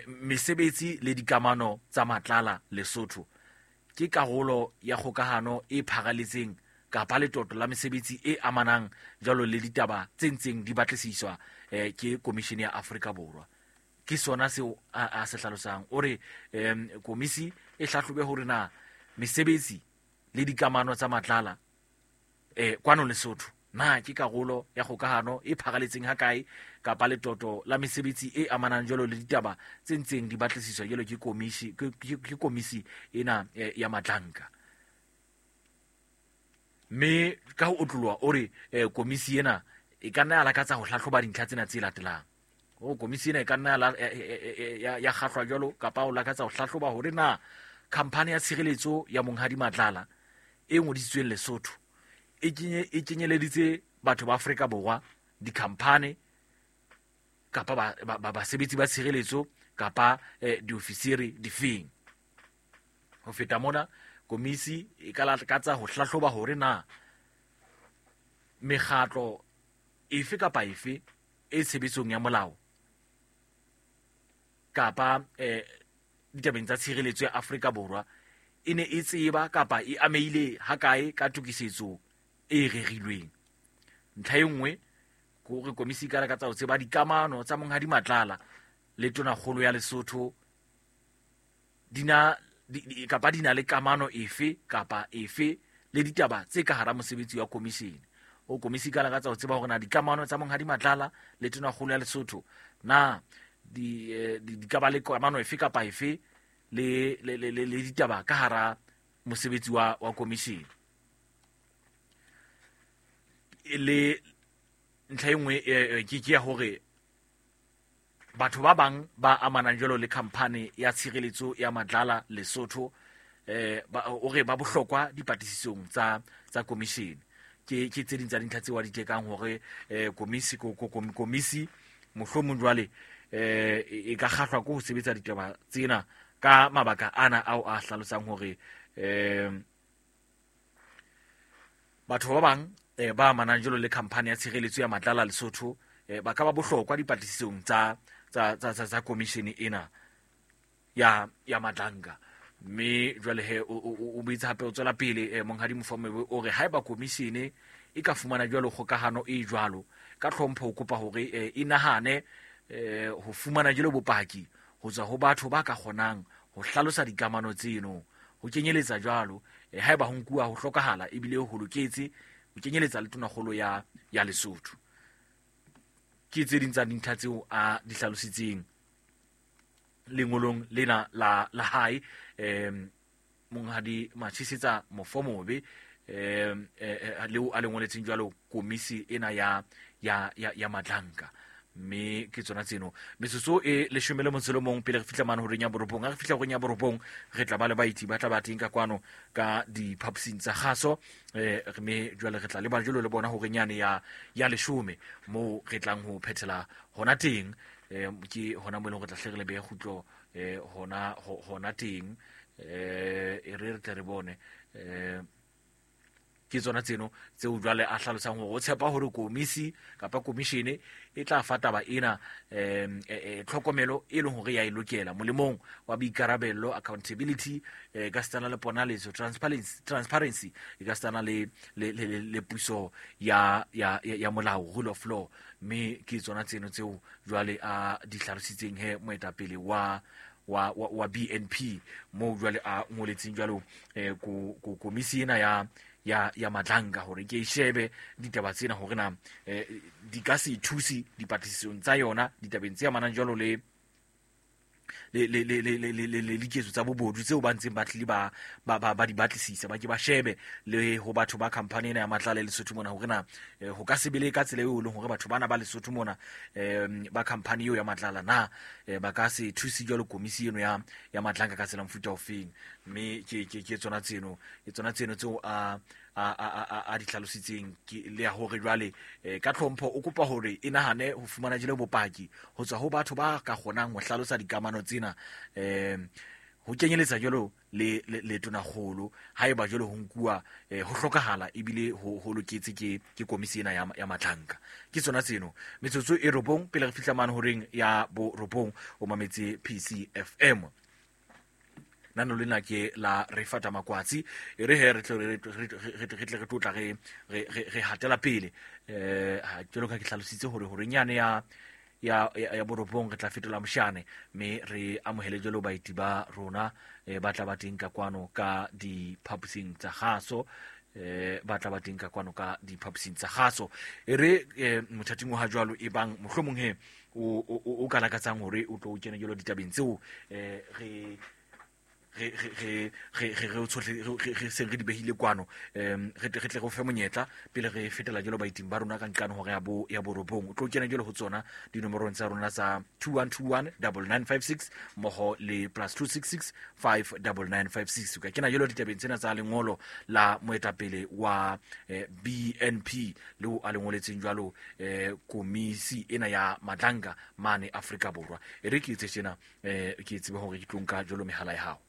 Mesebetsi le dikamano tsa Matlala Lesotho ke karolo ya kgokahano e pharaletseng kapa letoto la mesebetsi e amanang jwalo le ditaba tse ntseng di batlisiswa ke Komishene ya Afrika Borwa. Ke sona seo a se hlalosang. O re komisi e hlahlobe hore na mesebetsi le dikamano tsa Matlala kwano Lesotho na ke karolo ya kgokahano e pharaletseng hakae kapa letoto la mesebetsi e amanang jwalo le ditaba tse ntseng di batlisiswa jwalo ke komisi, ke komisi ena ya Matlanka. Mme ka ho otloloha o re komisi ena e ka nna ya lakatsa ho hlahloba dintlha tsena tse latelang. O komisi ena e ka nna ya kgahlwa jwalo kapa o lakatsa ho hlahloba hore na khamphani ya tshireletso ya Monghadi Matlala e ngodisitsweng Lesotho e kenyeleditse batho ba Afrika Borwa, dikhamphani kapa basebetsi ba tshireletso kapa diofisiri difeng. Ho feta mona, komisi e ka lakatsa ho hlahloba hore na mekgatlo efe kapa efe e tshebetsong ya molao kapa ditabeng tsa tshireletso ya Afrika Borwa e ne e tseba kapa e amehile hakae ka tokisetso e rerilweng. Ntlha e nngwe ke hore komisi e ka lakatsa ho tseba dikamano tsa Monghadi Matlala le Tonakgolo ya Lesotho kapa di na le kamano efe kapa efe le ditaba tse ka hara mosebetsi wa komishene. O komisi ka lakatsa ho tseba hore na dikamano tsa Monghadi Matlala le Tonakgolo ya Lesotho na di ka ba le kamano efe kapa efe le ditaba ka hara mosebetsi wa komishene. Le ntlha e nngwe ke ya hore batho ba bang ba amanang jwalo le khamphani ya tshireletso ya Matlala Lesotho o re ba bohlokwa dipatlisisong tsa komishene. Ke tse ding tsa dintlha tseo a di tekang hore komisi mohlomong jwale e ka kgahlwa ke ho sebetsa ditaba tsena ka mabaka ana ao a hlalosang hore batho ba bang ba amanang jwalo le khamphani ya tshireletso ya Matlala Lesotho ba ka ba bohlokwa dipatlisisong tsa komishene ena ya Matlanka. Mme jwale he o boetse hape o tswela pele Monghadi Mofomobe o re haeba komishene e ka fumana jwalo kgokahano e jwalo ka tlhompho, o kopa hore e nahane ho fumana jwalo bopaki ho tswa ho batho ba ka kgonang ho hlalosa dikamano tseno, ho kenyeletsa jwalo haeba ho nkuwa ho hlokahala ebile ho loketse ho kenyeletsa le Tonakgolo ya Lesotho. Ke tse ding tsa dintlha tseo a di hlalositseng lengolong lena la hae Monghadi Matshisetsa Mofomobe leo a le ngoletseng jwalo komisi ena ya Matlanka. Mme ke tsona tseno metsotso e 11 pele re fihla mane horeng ya borobong. Ha re fihla horeng ya borobong re tla ba le baeti ba tla ba teng ka kwano ka diphaposing tsa kgaso, mme jwale re tla leba jwalo le bona horeng yane ya 10 moo re tlang ho phethela hona teng. Ke hona mo e leng re tla hle re le behe kgutlo hona teng. E re tle re bone ke tsona tseno tseo jwale a hlalosang hore o tshepa hore komisi kapa komishene e tla fa taba ena tlhokomelo e leng hore ya e lokela molemong wa boikarabello, accountability, ka setana le ponaletso, transparency, e ka setana le puso ya molao, rule of law. Mme ke tsona tseno tseo jwale a di hlalositseng he moetapele wa BNP moo jwale a ngoletseng jwalo komisi ena ya Matlanka hore ke shebe ditaba tsena hore na di ka se thuse dipatlisisong tsa yona ditabeng tse amanang jwalo le diketso tsa bobodu tseo ba ntseng ba tlile ba di batlisisa, ba ke ba shebe le ho batho ba khamphani ena ya Matlala Lesotho mona hore na ho ka se be le ka tsela eo e leng hore batho bana ba Lesotho mona ba khamphani eo ya Matlala na ba ka se thuse jwalo komisi eno ya Matlanka ka tsela mofuta ofeng. Mme ke tsona tseno, ke tsona tseno tseo a di hlalositseng le ya hore jwale ka tlhompho o kopa hore e nahane ho fumana jele bopaki ho tswa ho batho ba ka kgonang ho hlalosa dikamano tsena, Ho kenyeletsa jwalo le le tonakgolo haeba jwalo ho nkuwa ho hlokahala ebile ho loketse ke komisi ena ya Matlanka. Ke tsona tseno metsotso e 9 pele re fihla mane horeng ya bo 9. O mametse PCFM. Nano lena ke la re fata makwatsi e re he re tle re tlotla re hatela pele. Jwalo ka ke hlalositse hore horeng yane ya borobong re tla fetola moshane mme re amohele jwalo baeti ba rona ba tla ba teng ka kwano ka diphaposing tsa kgaso, ba tla ba teng ka kwano ka diphaposing tsa kgaso. E re mothating wa ha jwalo e bang mohlomong he o ka lakatsang hore o tlo kene jwalo ditabeng tseo re re seng re di behile kwano, re tle re fe monyetla pele re fetela jwalo baeting ba rona ka nqane hore ya borobong. O tlo kena jwalo ho tsona dinomorong tsa rona tsa 2121 9956 mmoho le +266 59956. O ka kena jwalo ditabeng tsena tsa lengolo la moetapele wa BNP le o a le ngoletseng jwalo komisi ena ya Madlanga mane Afrika Borwa. E re ke etse tjena, ke tsebe hore ke tlo nka jwalo mehala ya hao.